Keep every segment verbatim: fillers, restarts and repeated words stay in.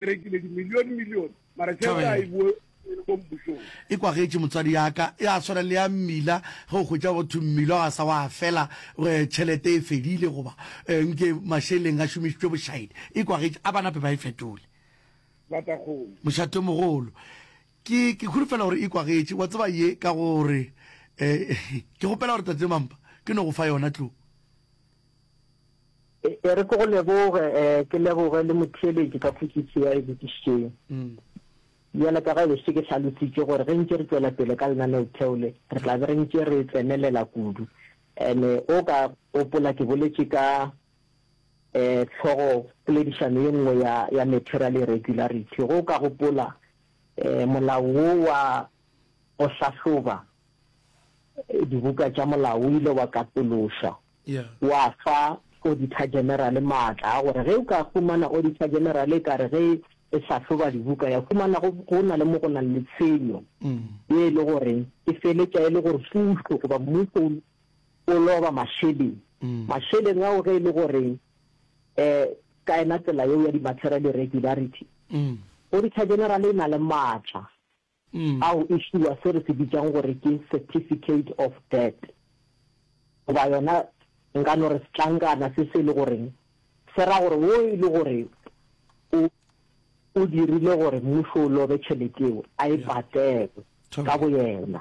Rekile dimilione milione mara tšhelete ga e boe ko mmušong. E kwagetše motswadi ya ka, ya swana le ya mmila, ge o hwetša go thwe mmila ga sa wa fela, tšhelete e fedile goba nke mašeleng a šomišitšwe bošaedi. E kwagetše, a ba nape ba e fetole. Batakgolo. Mošatomogolo. Ke, ke holofela gore e kwagetše. Wa tseba ye ka gore, eh, ke kgopela gore Tate Mampa, ke no go fa yona tlo. E re ke go leboge, eh, ke leboge le motheeletši ka potšišo ya e botšišitšeng. Bjale ka ge be šetše ke hlalositše gore ge ntše re tšwela pele ka lenaneotheo le, re tla be re ntše re tsenelela kudu. Ene o ka gopola ke boletše ka eh hlogo poledišano ye nngwe ya ya material irregularity. Ge o ka gopola eh molao wo wa go hlahloba dibuka tša molao o ile wa katološwa wa fa Auditor General maatla a gore ge o ka humana Auditor General e ka re ge e hlahloba dibuka ya humana go go na le mo go nang le tshenyo ye e le gore e feletša e le gore pušo goba mmušo o loba mašeleng. Mašeleng ao ge e le gore um ka yena tsela yeo ya di-material irregularity, Auditor General e na le maatla ao e fiwa se re se bitšang gore ke certificate of debt goba yona nka no re setlankana se se e le goreng se ra gore wo e le gore o o dirile gore mmušo o lobe tšhelete eo a e patele ka boyena.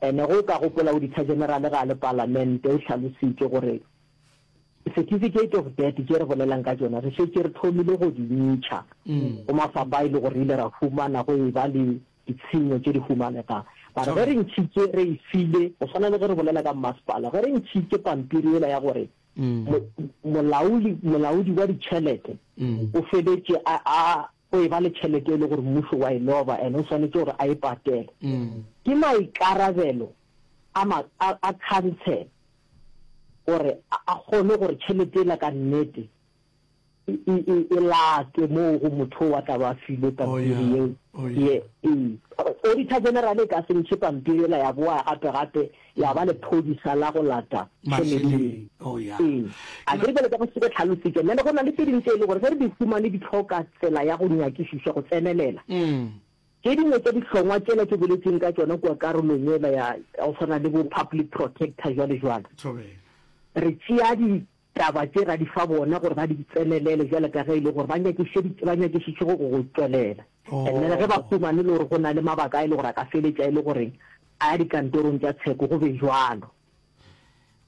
Ene ge o ka gopola Auditor General ga a le palamente o hlalositše gore certificate of debt tše re bolelang ka tšona re šetše re thomile go di ntšha go mafapha a e le gore re ile ra humana go e ba le ditshenyo tše di humanegang. Mara ge re ntšhitše re e file, go swana le ge re bolela ka mmasepala, ge re ntšhitše pampiri yela ya gore molaoli, molaodi wa ditšhelete o feletše a, a go e ba le tšhelete e le gore mmušo wa e loba and o swanetše gore a e patele, ke maikarabelo a, ma, a, a khansele gore a kgone gore tšhelete yela ka nnete e, e, e, e latwe moo go motho wa tla ba filwe pampiri yeo. Ye, ee. Auditor General e ka se ntšhe pampiri yela ya boa gape gape ya ba lephodisa la go lata tšhelete yeo. Ee. A ke re bjale ka go se ke hlalositše, nna le go na le tše dingwe tše e le gore ge re di humane di hloka tsela ya go nyakišišwa go tsenelela. Tše dingwe tša dihlongwa tšela ke boletšeng ka tšona kua karolong yela ya go swana le bo Public Protector jwale jwale. Re tšea di taba tše ra di fa bona gore ba di tsenelele bjale ka ge e le gore ba nyakiše ba nyakišiše go go tšwelela. And then ge ba humane le gore go na le mabaka a e le gore a ka feletša e le gore a ya dikantorong tša tsheko go be jwalo.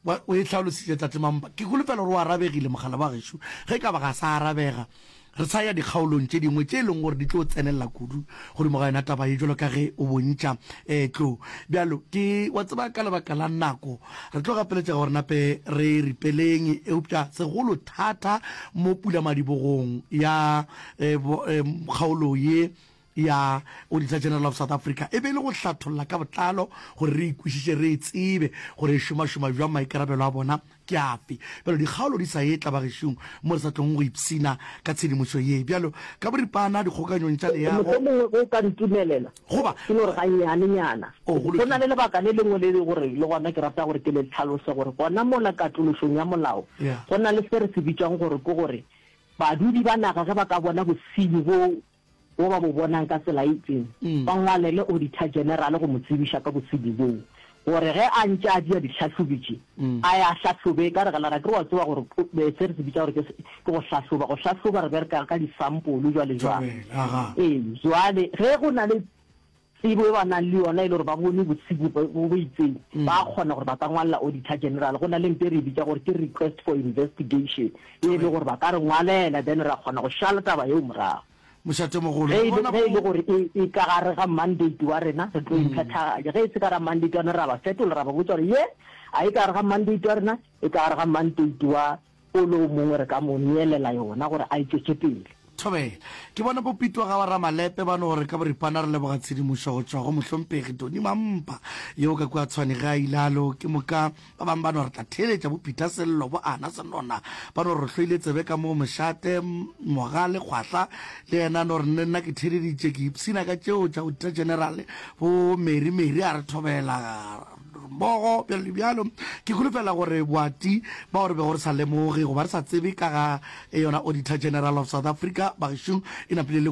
Wa, o e hlalositše Tate Mampa. Ke holofela gore o arabegile mogala wa gešo. Ge e ka ba ga sa arabega, re sa ya dikgaolong tše dingwe tše e leng gore di tlo tsenelela kudu godimo ga yona taba ye jwalo ka ge o bontša eh, tlo. Bjalo, ke, wa tseba ka lebaka la nako, re tlo gapeletšega gore nape re ripeleng, eupša segolo thata mo pulamadibogong ya eh, bo, eh, kgaolo ye ya Auditor General of South Africa e be e le go hlatholla ka botlalo gore re ikwešiše, re e tsebe gore e šomašoma bjang, maikarabelo a bona ke afe. Bjalo dikgaolo di sa etla bagešong mo re sa tlong go ipshina ka tshedimošo ye. Bjalo ka boripana dikgokanyong tša leago. Mohlomongwe ge o ka ntumelela Goba. ke no re gannyanenyana. Oh, go Go na lokile. le lebaka le lengwe le gore le gona ke rata gore ke le hlalose gore gona mola katološong ya molao Yeah. go na le se re se bitšang gore ke gore badudi ba naga ge ba ka bona bosenyi bo bo ba bo bonang ka tsela e itseng, ba ngwalele Auditor General go mo tsebiša ka bosenyi boo, gore ge a ntše a dia dihlahlobi tše, a ye a hlahlobe. Ka re gela, ke re wa tseba gore se re se bitša gore ke ke go hlahloba. Go hlahloba re bereka ka disampolo jwale jwale. Ee, jwale ge go na le tsebo e ba nang le yona e le gore ba bone bosenyi bo bo itseng, ba kgona gore ba ka ngwalela Auditor General. Go na le nto e re e bitša gore ke request for investigation, e le gore ba ka re ngwalela then ra kgona go šala taba yeo morago. Mošatemogolo, Ge ke e le bona ge e le bo. gore e e ka gare ga mandate wa rena, re tlo e phethagatša. Ge e se ka gare ga mandate wa rena, ra ba fetola, ra ba botša gore ye ga e ka gare ga mandate wa rena, e ka gare ga mandate wa o le o mongwe, re ka mo neelela yona gore a e tšwetše pele. Thobela. Ke bona bo Pitwa ga ba Ramalepe ba no re ka boripana re leboga tshedimošo go tšwa go Mohlomphegi Tony Mampa yo ka kua Tshwane ge a ilalo. Ke moka ba bangwe ba no re tla theeletša bo Peter Sello, bo Ana Senona ba no re hloile tsebe ka moo mošate Mogale Kgwahla le yena a no re nne nna ke theeleditše ke ipshina ka tšeo tša Auditor General. Bo Mary Mary a re thobela mmogo bjalo le bjalo. Ke holofela gore boati bao re bego re sa lemoge goba re sa tsebe ka ga yona Auditor General of South Africa bagešong e napile le